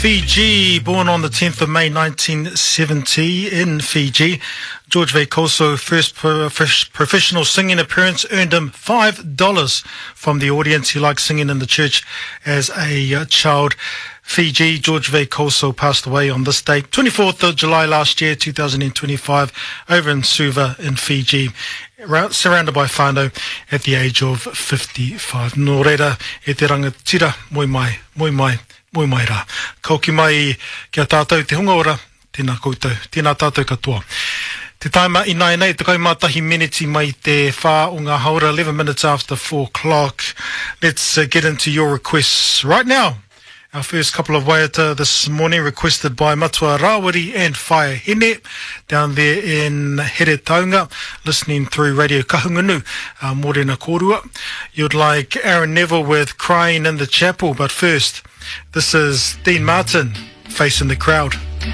Fiji, born on the 10th of May 1970 in Fiji. George Veikoso first professional singing appearance earned him $5 from the audience. He liked singing in the church as a uh, child. Fiji, George Veikoso passed away on this date, 24th of July last year, 2025, over in Suva in Fiji, surrounded by whānau at the age of 55. Nō reira, e te rangatira, moe mai, moe mai, moe mai rā. Ka hoki mai ki a tātou te hunga ora, tēnā koutou, tēnā tātou katoa. Te taima ināianei, 11 meneti mai te whā o ngā haora, 11 minutes after 4 o'clock. Let's uh, get into your requests right now. Our first couple of waiata this morning requested by Matua Rawiri and Whaea Hene down there in Heretaunga, listening through Radio Kahungunu, uh, Morena Kōrua. You'd like Aaron Neville with Crying in the Chapel, but first, this is Dean Martin, Facing the Crowd.